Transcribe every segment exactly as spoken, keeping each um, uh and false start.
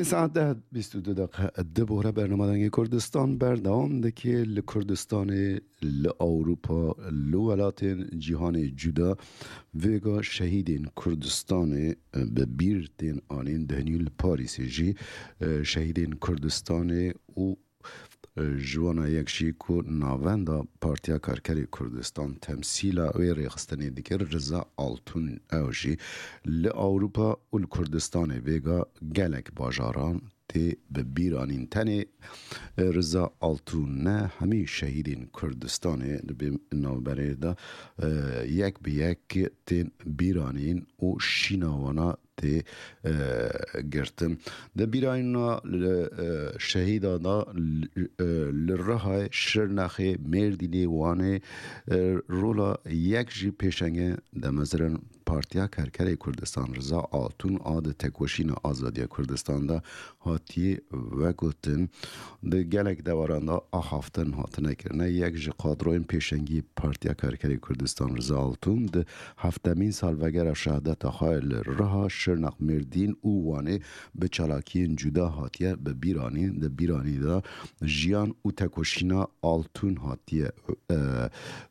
Saet deh bîst û du deqe di bore bernama Dengê Kurdistan berdewam dike. Li Kurdistanê, li Ewropa, li welatên cîhanê cuda vêga şehîdên Kurdistanê bi bîr tên anîn. Dihinî li Parîsê jî, e, şehîdên Kurdistanê û, e, ji wana yek jî ku navenda Partiya Karkerê Kurdistan temsîla wê rêxistinê dikir, Riza Altun, ew jî li Ewropa û li Kurdistanê vêga gelek bajaran tê bi bîr anîn. Tenê, e, Riza Altun ne, hemî şehîdên Kurdistanê di vê navberê de, e, yek bi yek tên bîr anîn û şîna wana tê, e, girtin. Di bîranîna li, e, şehîda de li, e, li Rihayê, Şirnexê, Mêrdînê, Wanê, e, rola yek jî pêşengê demezirin Partiya Kerkerê Kurdistan Riza Altun a di tekoşîna azadiya Kurdistan de hatiye vegotin. Di gelek dewaran de axaftin hatine kirine. Yek ji kadroyên pêşengî Partiya Kerkerê Kurdistan Riza Altun di heftemîn salvegera şehadeta xwe li Riha, Şirnex, Mêrdîn û Wanê bi çalakiyên cuda hatiye bi bîranîn. Di bîranî de jiyan û tekoşîna Altun hatiye, e,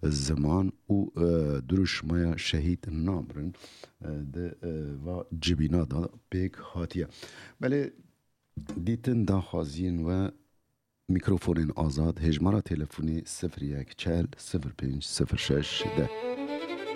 ziman û, e, duruşmaya şehîd namirin, e, di, e, va cibîna de pêk hatiye. Belê, dîtin, daxwaziyên we, mîkrofonên azad, hêjmara telefonê sifir yek çel sifir pênc sifir şeş deh.